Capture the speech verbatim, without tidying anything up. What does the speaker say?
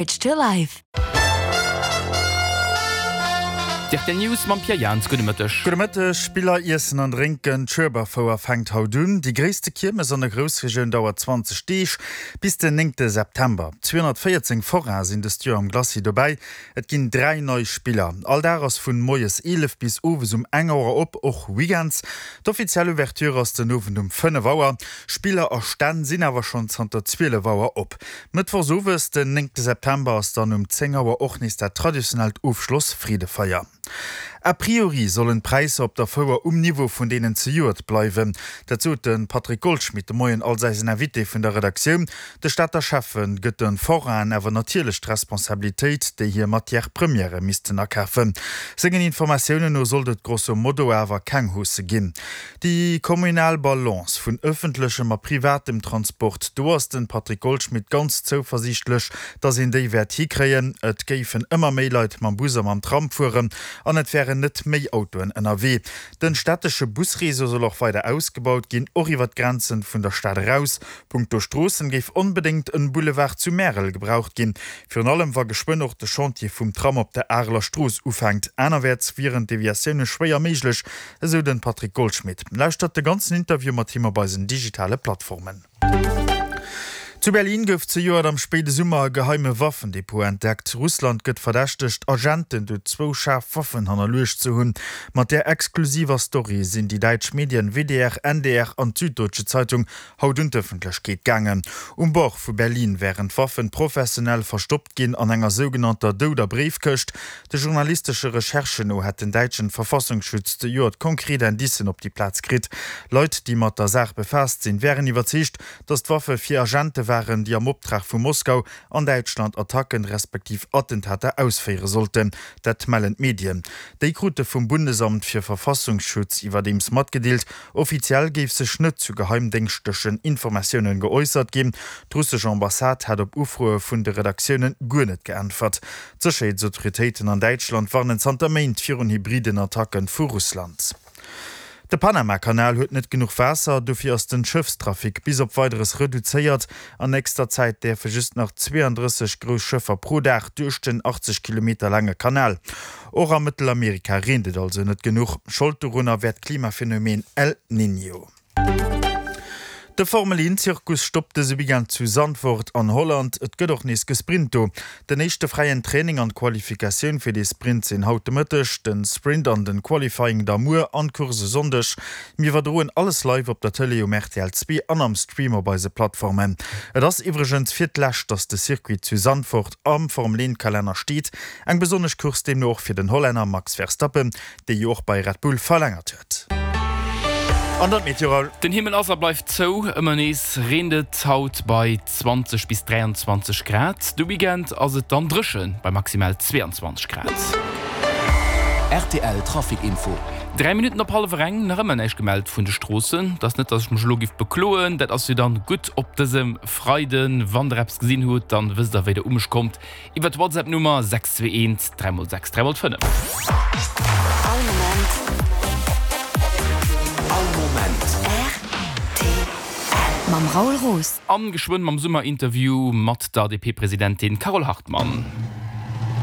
To life. D'Rtl News mam Pierre Jans, Gudde Mëtteg. Gudde Mëtteg. Spiller, Iessen an Drénken, D'Schueberfouer fänkt haut un. Déi gréisste Kiermes an der Groussregioun dauert zwanzeg Deeg, bis den néngte September. zweehonnertvéierzéng Forainen sinn dëst Joer am Glacis dobäi. Et ginn dräi nei Spiller. All Dag ass vun moies eelef bis owes um eng Auer op, och weekends. D'offiziell Ouverture ass den Owend um fënnef Auer. Spiller a Stänn sinn awer schonn zanter zwielef Auer op. Mëttwochs owes, den néngte September, ass dann um zéng Auer och nees dat traditionellt Ofschloss-Freedefeier. A priori sollen d'Präisser op der Fouer um Niveau vun deenen zejoert bleiwen. Dat sot de Patrick Goldschmidt de Moien als eisen Invité vun der Redaktioun. De Stater Schäffe gëtt de Forainen awer natierlech d'Responsabilitéit, déi hir Matières premièrë missten akafen. Sengen Informatiounen no sollt et grosso modo awer keng Hausse ginn. Déi communal Balance vun ëffentlechem a privatem Transport, do ass de Patrick Goldschmidt ganz zouversiichtlech, datt een déi wäert hikréien. Et géifen ëmmer méi Leit mam Bus a mam Tram fueren an et wären net méi Autoen ënnerwee. Den städtesche Busreseau soll och weider ausgebaut ginn, och iwwer d'Grenzen vun der Stad eraus. Punkto Stroossen géif onbedéngt en Boulevard zu Märel gebraucht ginn, virun allem wa geschwënn och de Chantier vum Tram op der Areler Strooss ufänkt. Anerwäerts wieren Deviatioune schwéier méiglech, esou den Patrick Goldschmidt. Lauschtert de ganzen Interview mat him op eisen digitale Plattformen. Zu Berlin gouf zejoert am spéide Summer e geheime Waffendepot entdeckt. Russland gëtt verdächtegt, Agenten do zwou schaarf Waffen hannerluecht ze hunn. Mat där exklusiver Story sinn déi däitsch Medien W D R, N D R an d'Süddeutsche Zeitung haut un d'Ëffentlechkeet gaangen. Um Bord vu Berlin wären d'Waffen professionell verstoppt ginn an enger sougenannter douder Bréifkëscht. De journalistesche Recherchen no hätt den däitschen Verfassungsschutz zejoert konkret Indicen op déi Plaz kritt. Leit, déi mat der Saach befaasst sinn, wären iwwerzeegt, datt d'Waffe fir Agente waren, déi am Optrag vu Moskau an Däitschland Attacken, respektiv Attentater ausféiere sollten. Dat mellen d'Medien. Déi krute vum Bundesamt fir Verfassungsschutz iwwerdeems matgedeelt, offiziell géif sech net zu geheimdéngschtlechen Informatiounen geäussert ginn. D'russesch Ambassade hat op Ufroe vun de Redaktioune guer net geäntwert. D'Sécherheetsautoritéiten an Däitschland warnen zanter Méint virun hybriden Attacke vu Russland. De Panamakanal huet net genuch Waasser, dofir ass den Schëffstrafic bis op Weideres reduzéiert. An nächster Zäit däerfe just nach zweeëndrësseg grouss Schëffer pro Dag duerch den achtzeg Kilometer laange Kanal. Och a Mëttelamerika reent et also net genuch. Schold dorunner wär d'Klimaphenomen El Niño. De Formel-Een-Zirkus stoppt dëse Weekend zu Zandvoort an Holland. Et gëtt och nees gesprint do. Den éischte fräien Training an d'Qualifikatioun fir dee Sprint sinn haut de Mëtteg, den Sprint an den Qualifying da muer an d'Course e Sonndeg. Mir iwwerdroen alles live op der Tëlee um R T L zwee an am Stream op eise Plattformen. Et ass iwwregens fir d'lescht, dass de Circuit zu Zandvoort am Formel-Een-Kalenner steet. Eng besonnesch Course deemno och fir den Hollänner Max Verstappen, dee jo och bei Red Bull verlängert huet. An dann d'Meteo, Raoul. Den Himmel ass a bleift zou, ëmmer nees reent et haut bei zwanzeg bis dräianzwanzeg Grad. De Weekend ass et dann dréche bei maximal zweeanzwanzeg Grad. R T L Trafic Info. Dräi Minutten op hallwer eng, nach ëmmer näischt gemellt vun de Stroossen. Et ass net, dass ech mech elo giff bekloen, dat ass jo dann gutt op dësem Freiden. Wann der eppes gesinn hutt, dann wësst der wéi der u mech kommt iwwer d'Whatsapp Nummer sechs zwee eent dräi mol sechs dräi mol fënnef. All Moment. All Moment. R T L mam Raoul Roos. An geschwënn mam Summerinterview mat der D P-Presidentin Carole Hartmann.